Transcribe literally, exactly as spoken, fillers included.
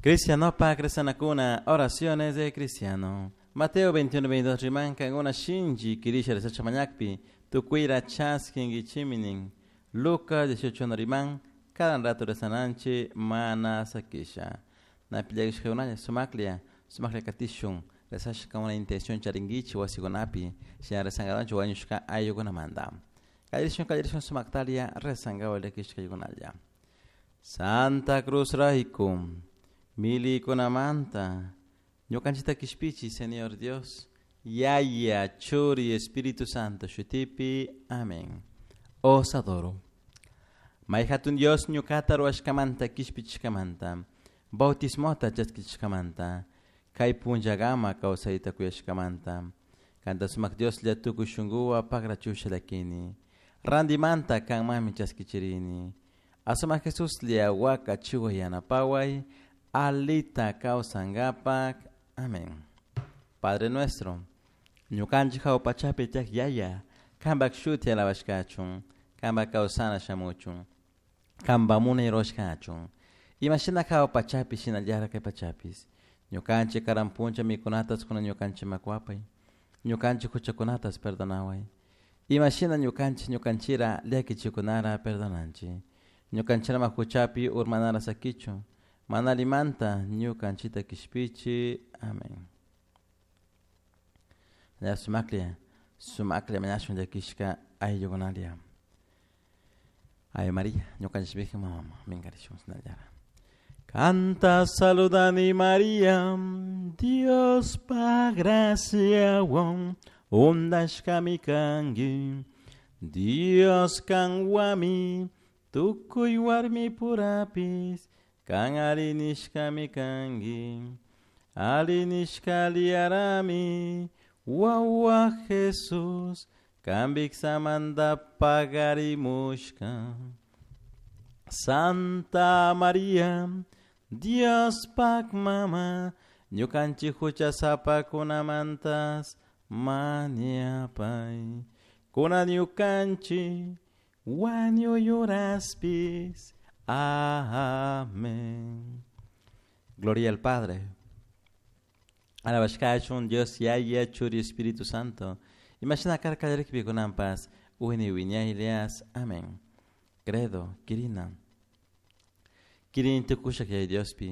Cristianopa cristianakuna, oraciones de cristiano. Mateo veintiuno veintidós rimanka una shinji kirisha resacha mañakpi, tukuira chaskinkichiminin. Lucas dieciocho riman, cada rato rezananchi mana sakisha. Napillakishkakunalla sumaklia, sumaklia katishun, rezashka una intención charinkichi wasikunapi, shina rezangadanchi wañushka ayllukunamanta. Kallarishun kallarishun sumaktalia rezangawa llakishkaykunalla. Santa Cruz rayku, milikunamanta, ñukanchita kishpichi, Señor Dios, Yaya, Churi, Espíritu Santo, shutipi, amén. Os adoro. Mayhatun Dios ñukata ruwashkamanta kishpichishkamanta, bautismota chaskishkamanta, kay punllagama kawsayta kuyashkamanta, kanta sumak Dios lla tukuy shunkuwa pakrachusha llakini, randimanta kanmanmi chaskichirini, asumak Jesus lla waka chiwa yanapaway, alita kawsankapak. Amén. Padre nuestro, ñukanchik hawpachapi tiyak Yaya, kanpak shuti alabashkachun, kanpak kawsana shamuchun, kanpak munay rurashkachun, imashina hawpachapi shinallara kay pachapis, ñukanchik karan puncha mikunatas kuna ñukanchik makuapay, ñukanchik huchakunatas perdonaway, imashina ñukanchik ñukanchira llakichikunara perdonanchik, ñukanchirama huchapi urmanara sakichun, mana alimanta ñukanchita kishpichi. Amén. Ya sumaklia, sumaklia mañashun llakishka ayllukunalia. Ave María, ñukanchik Virgen mama, minkarishun sinallara. Canta saludani María, Dios pa graciawan, undashkami kanki, Dios kanwami, tukuy warmi purapis, kan arinishkami kanki, arinishka liarami, wawa Jesus, kambik samanda pagarimushka. Santa María, Dios pak mama, ñukanchik huchasapakunamantas mañapay. Kuna ñukanchik wañuyuraspis. Amén. Gloria al Padre. Alabashkachun Dios Yaya Churi Espíritu Santo. Imagina karkallarikpi kunanpas wini wiñaylias. Amén. Credo, Kirina. Kirin tukushak Yaya Diospi.